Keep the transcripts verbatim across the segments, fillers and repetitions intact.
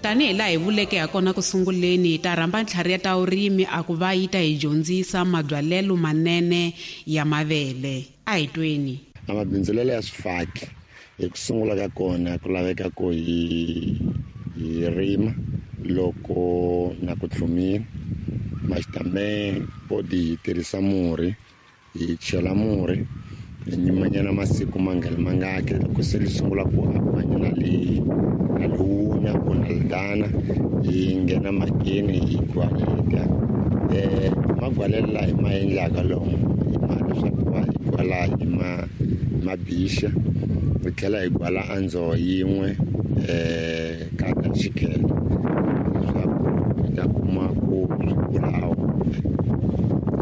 Tanihi laha hi vuleke hakona ku sunguleni, hi ta rhamba ntlhari ya ta vurimi a ku va yi ta hi dyondzisa mabyalelo manene ya mavele. A hi tweni. A mabindzulelo ya swifaki hi ku sungula ka kona ku laveka ku hi hi rima loko na ku tlhumile maxitame podi hi tirhisa murhi hi chela murhi hi nyimanyana masiku mangani mangaki loko se li sungula ku apfanyana li na liwuna ku na lidana hi nghena makini hi gwaleta eh magwalela la hi ma endlaka lomu hi ma leswaku va hi gwala hi ma mabixa hi tlhela hi gwala andzo yin'we eh ka xikhele leswaku hi ta kuma ku swi kulawo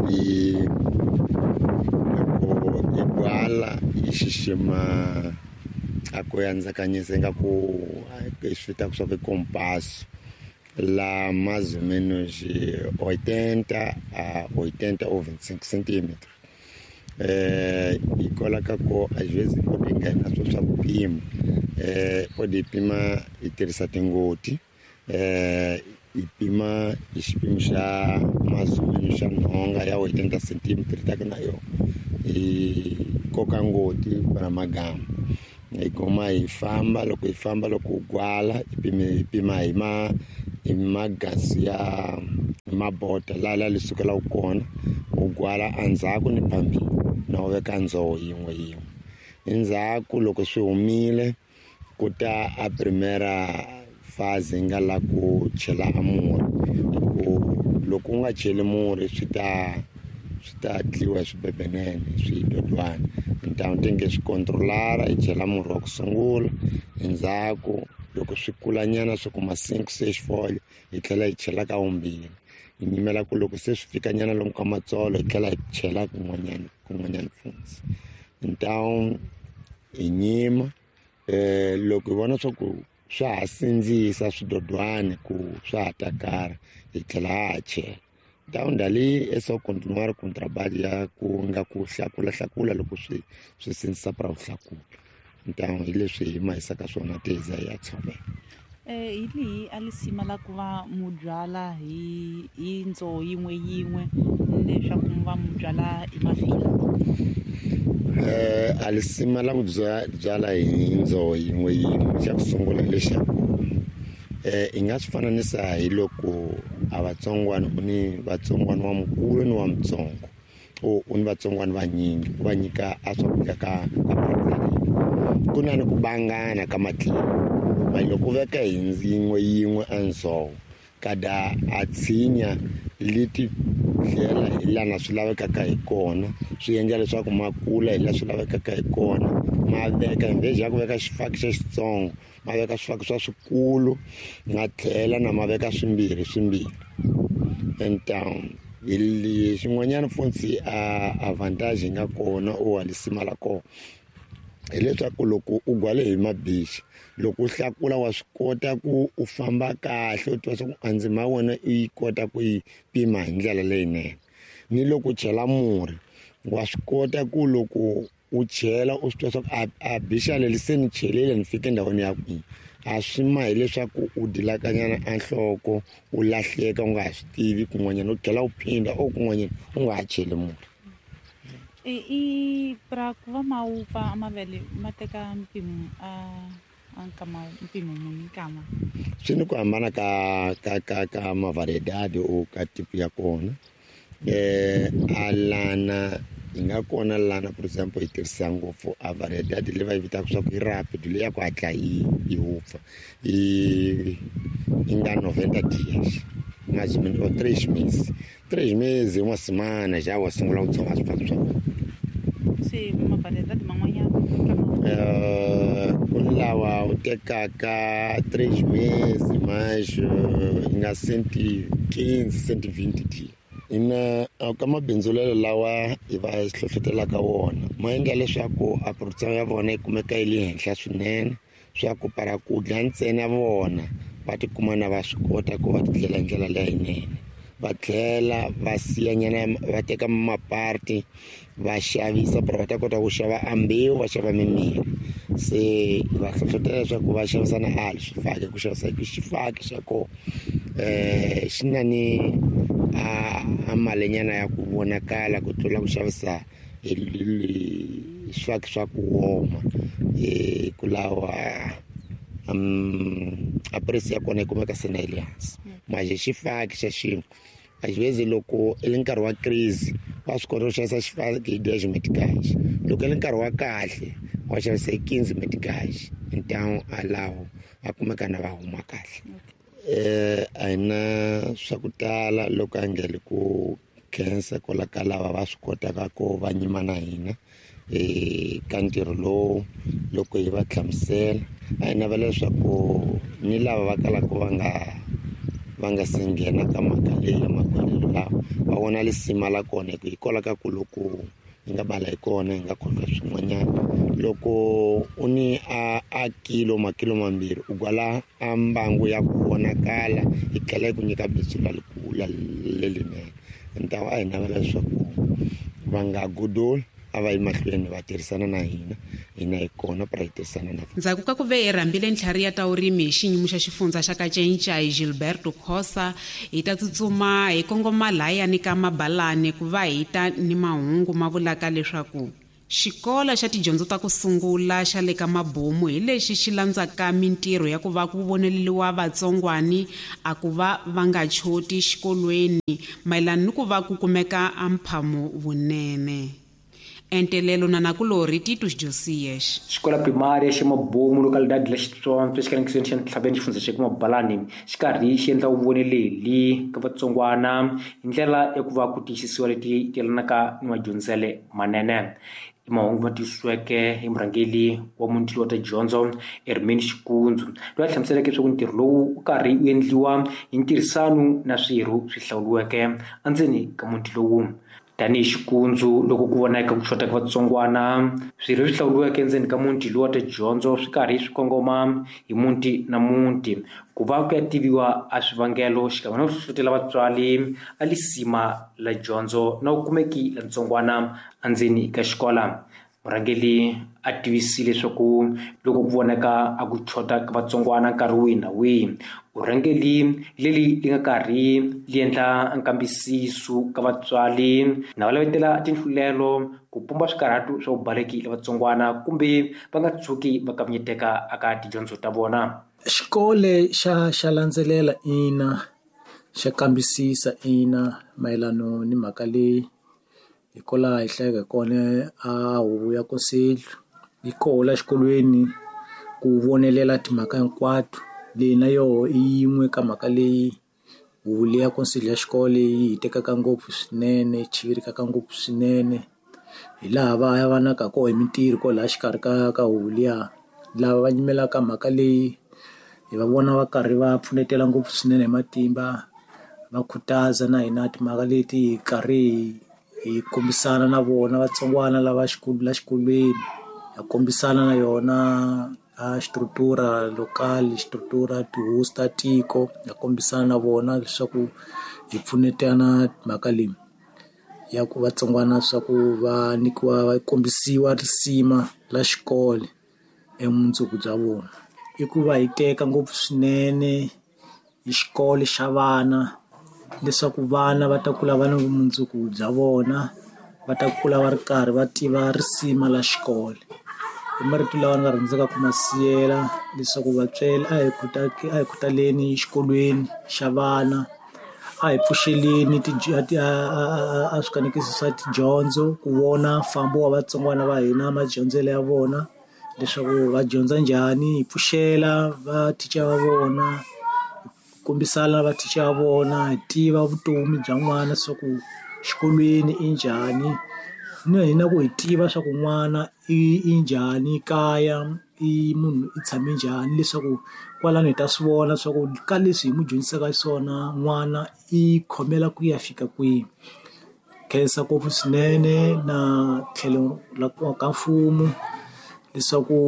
hi loko hi gwala hi xixima a ku yandzakanyisa ingaku swi vitaka swa ku i compasso la mais ou menos oitenta a oitenta ou vinte e cinco centímetros. Eh, hikwalaho ka ku às vezes pode nghena swo swa ku pima eh, pode pima hi tirhisa tingoti eh, hi pima hi xipimo xa mais ou menos xa nhonga ya oitenta centímetros ta ku na yona hi koka ngoti para magama hi goma hi famba loko hi famba loko u gwala hi pima hi pima hi ma hi magasi ya mabota laha la li sukelaka kona u gwala endzhaku ni phambili na u veka ndzoho yin'we yin'we endzhaku loko swi humile ku ta a primera fase nga la ku chela a murhi hi ku loko u nga cheli murhi swi ta swi ta dliwa hi swibebenene swidodwana então tem que swi controlar hi chela murhi wa ku sungula endzhaku loko swi kulanyana swi kuma cinco seis folha hi tlhela hi chela ka vumbirhi hi nyimela ku loko se swi fikanyana lomu ka matsolo hi tlhela hi chela kun'wanyana kun'wanyana futhi então hi nyima eh loko hi vona swa ku swa ha sindzisa swidodwani ku swa ha takara hi tlhela ha ha chela então dali é só continuar com o trabalho ya ku nga ku hlakula hlakula loko swi swi sindzisa para ku hlakula então hi leswi hi ma hisaka swona ti hi za hi ya tshovela. Eh hi lihi a lisima la ku va mu byala hi hi ndzoho yin'we yin'we leswaku mu va mu byala hi mafila? Eh a lisima la ku byala hi ndzoho yin'we yin'we xa ku sungula hi lexaku eh hi nga swi fananisa hi loko a vatsongwana u ni vatsongwana wa mukulu ni wa mutsongo u u ni vatsongwana vanyingi u va nyika a swakudya ka ka ku na ni ku bangana ka matlhelo ma loko u veka hi yin'we yin'we a ndzhoho kada a tshinya leti tlhela hi lana swi lavekaka hi kona swi endla leswaku ma kula hi laha swi lavekaka hi kona ma veka in vez ya ku veka xifaki xa xitsongo ma veka swifaki swa swikulu ma tlhela na ma veka swimbirhi swimbirhi então hi xin'wanyana futhi a avantage yi nga kona u lisima la kona hileswaku loko u gwale hi mabichi loko u hlakula wa swi kota ku u famba kahle u tiva swa ku a ndzima ya wena u yi kota ku yi pima hi ndlela leyinene ni loko u chela murhi wa swi kota ku loko u chela u swi tiva swa ku a a bixa leri se ni chelile ni fike endhawini ya kwihi a swi ma hileswaku u dilakanyana a nhloko u lahleka u nga ha swi tivi kun'wanyana u tlhela u phinda o kun'wanyana u nga ha cheli murhi. I i pra ku va ma wupfa mavele ma teka mpimo a a nkama mpimo muni nkama swi ni ku hambana ka ka ka ka mavariedade o ka tipo ya kona eh a lana hi nga kona lana for example hi tirhisa ngopfu a variedade leyi va yi vitaka swa ku i rapid leyi ya ku hatla yi yi wupfa yi yi nga noventa dias mais ou menos ou três meses três meses uma semana já wa sungula ku tshova swifaki swa wena. Se mavariedade man'wanyana Eh, ku ni lawa u tekaka três meses mais yi nga cento e quinze cento e vinte dias ina ka mabindzulelo lawa hi va hlohlotelaka wona ma endla leswaku a production ya vona yi kumeka yi le henhla swinene swa ku para ku dya ntsena vona va tikuma na va swi kota ku va tindlela hi ndlela leyinene va tlhela va siyanyana va teka maparti va xavisa para va ta kota ku xava a mbewu va xava mimirhi Se va hlohlotela leswaku va xavisa na ali swifaki, ku xavisa hi xifaki xa kona um xi na ni a a malinyana ya ku vonakala ku tlula ku xavisa hi swifaki swa ku woma. Um ku lawa um a price ya kona yi kumeka se na yi le hansi. Manje xifaki xa xin'we a xi vezi loko i le nkarhi wa crise wa swi kota ku xavisa xifaki hi dez meticage, loko i le nkarhi wa kahle wa xavisa hi quinze meticage. Então a lawo a kumeka na va huma kahle. Um a hi na swa ku tala loko a ngele ku khensa kwala ka lava va swi kotaka ku va nyima na hina um ka ntirho lowu loko hi va hlamusela. A hi navela leswaku ni lava va kalaka va nga va nga se nghena ka mhaka leyi ya makhwelelo lawa va vona lisima la kona, hi ku hikwalaho ka ku loko hi nga bala hi kona hi nga khohlwa swin'wanyana. Loko u ni a a kilo makilo mambirhi u gwala a mbangu ya ku vonakala yi tlhela yi ku nyika bindzu lelinene. Ntawo a hi navela leswaku va nga godoli, a va yi mahlweni va tirhisana na hina, hina hi kona pra hi tirhisana na vona. Ndzhaku ka ku ve hi rhambile ntlhari ya ta vurimi hi xiyimo xa xifundza xa Kacencai Gilberto Khosa, hi ta tsutsuma hi kongoma lahayani ka Mabalani ku va hi ta ni mahungu ma vulaka leswaku xikolo xa tidyondzo ta ku sungula xa le ka Mabomu hi lexi xi landzaka mintirho ya ku va ku voneleriwa vatsongwani a ku va va nga choti xikolweni mayelana ni ku va ku kumeka a mphamo vunene. Entelelo na nakulorhi Titus Josias. Xikola primária xa Mabomu localidade la Xitsonga xikanekisweni xa Ntlhaveni xifundza xa Mabalani xi karhi xi endla vuvoneleli ka vatsongwana hi ndlela ya ku va ku tiyisisiwa leti yelanaka ni madyondzele manene. I mahungu ma tiyisiweke hi murhangeri wa muti wa ta dyondzo Hermine Xikundzu, loyi a hlamuseleke leswaku ntirho lowu wu karhi wu endliwa hi ntirhisano na swirho swi hlawuriweke endzeni ka muti lowu. Tanihi Xikundzu, loko ku vonaka ku xota ka vatsongwana, swirho swi hlawuriweke endzeni ka muti lowu wa tidyondzo swi karhi swi kongoma hi muti na muti ku va ku ya tiviwa a swivangelo xikan'we na ku hlohlotela vatswari a lisima la dyondzo na vukumeki la ntsongwana endzeni ka xikola. Murhangeri a tivisile leswaku loko ku vonaka a ku xota ka vatsongwana nkarhi wihi na wihi, vurhangeri leri li nga karhi li endla nkambisiso ka vatswari na va lavetela tinhlulelo ku pumba swikarhatu swa vubaleki la vatsongwana kumbe va nga tshuki va kavanyeteka eka tidyondzo ta vona. Xikolo xa xa landzelela ina, xa kambisisa ina mayelana ni mhaka leyi hikwalaho hi hlayeke kona a huvo ya conselho yi koho la xikolweni ku vonelela timhaka hinkwato. Leyi na yoho i yin'we ka mhaka leyi huvo leyi ya conselho ya xikolo yi hi tekaka ngopfu swinene, yi chivirikaka ngopfu swinene. Hi laha va ya va naka koho hi mintirho kwalaha xikarhi ka ka huvo liya, lava va nyimelaka mhaka leyi hi va vona va karhi va pfunetela ngopfu swinene hi matimba, va khutaza na hina timhaka leti hi karhi hi kombisana na vona vatsongwana lava xikolo la xikolweni, ha kombisana na yona a xistrutura local, xistrutura tihosi ta tiko, ha kombisana na vona leswaku hi pfunetana mhaka leyi ya ku vatsongwana swa ku va nyikiwa va kombisiwa risima la xikolo emundzuku bya vona. I ku va hi teka ngopfu swinene hi xikolo xa vana leswaku vana va ta kula va na vumundzuku bya vona, va ta kula va ri karhi va tiva risima la xikolo. I marito lawa ni nga rhandzaka ku ma siyela leswaku vatswari a hi a hi khutaleni xikolweni xa vana, a hi pfuxeleni a swikanekisi swa tidyondzo ku vona mfambo wa vatsongwana va hina, madyondzelo ya vona leswaku va dyondza njhani, hi pfuxela va thicha va vona, kombisana va thicha va vona, hi tiva vutomi bya n'wana leswaku xikolweni i njhani, na hina ku hi tiva swa ku n'wana i i njhani kaya, i munhu i tshame njhani, leswaku kwalano hi ta swi vona swa ku ka leswi hi n'wi dyondzisaka swona n'wana i khomela ku ya fika kwihi. Khensa ngopfu swinene na tlhelo la ka mfumo leswaku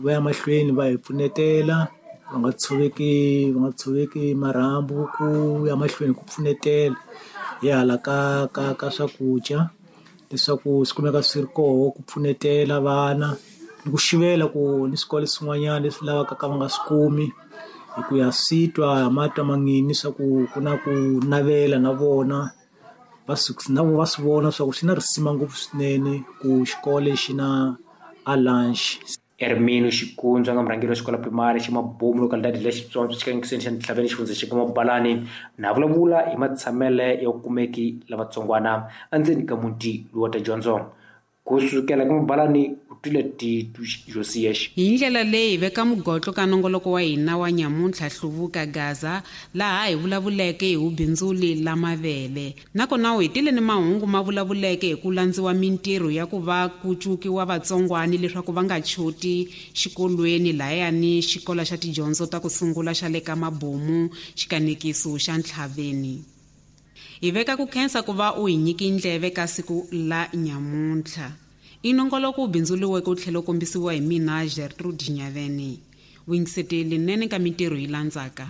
va ya mahlweni va hi pfunetela, va nga tshoveki va nga tshoveki marhambu ku ya mahlweni ku pfunetela hi hala ka ka ka swakudya leswaku swi kumeka swi ri koho ku pfunetela vana Ni ku xivela ku ni swikolo swin'wanyana leswi lavaka ka va nga swi kumi hi ku ya swi twa matwa mangini swa ku ku na ku navela na vona va swi na vo va swi vona swa ku swi na risima ngopfu swinene ku xikolo xi na a lunch. Ermino Xikunzu nga murhangeri wa xikolo primary xa Mabomu localidade la Xitsonga xikangiseni xa Ntlhaveni xifundza xa Mabalani na vulavula hi matshamele ya kumeki lavatsongwana endzeni ka muti lowu wa tidyondzo kusukela ka Mabalani u twile Titu Josias. Hi ndlela leyi veka mugotlo ka nongoloko wa hina wa nyamuntlha Hluvuka Gaza laha hi vulavuleke hi vubindzuli la mavele nakona u hetile ni mahungu ma vulavuleke hi ku landziwa mintirho ya ku va ku cukiwa vatsongwani leswaku va nga choti xikolweni lahayani xikolo xa tidyondzo ta ku sungula xa le ka Mabomu xikanekiso xa Ntlhaveni. Hi veka ku khensa ku va u hi nyiki ndleve ka siku la nyamuntlha. I nongoloko wu bindzuriweke wu tlhela wu kombisiwa hi mina Gertrude Nyaveni. Vuyingiseteli nene ka mintirho yi landzaka.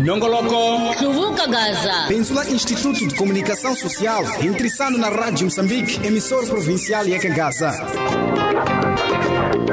Nongoloko Hluvuka Gaza. Benzula Instituto de Comunicação Social, intrissando na Rádio Moçambique, emissora provincial Yeka Gaza.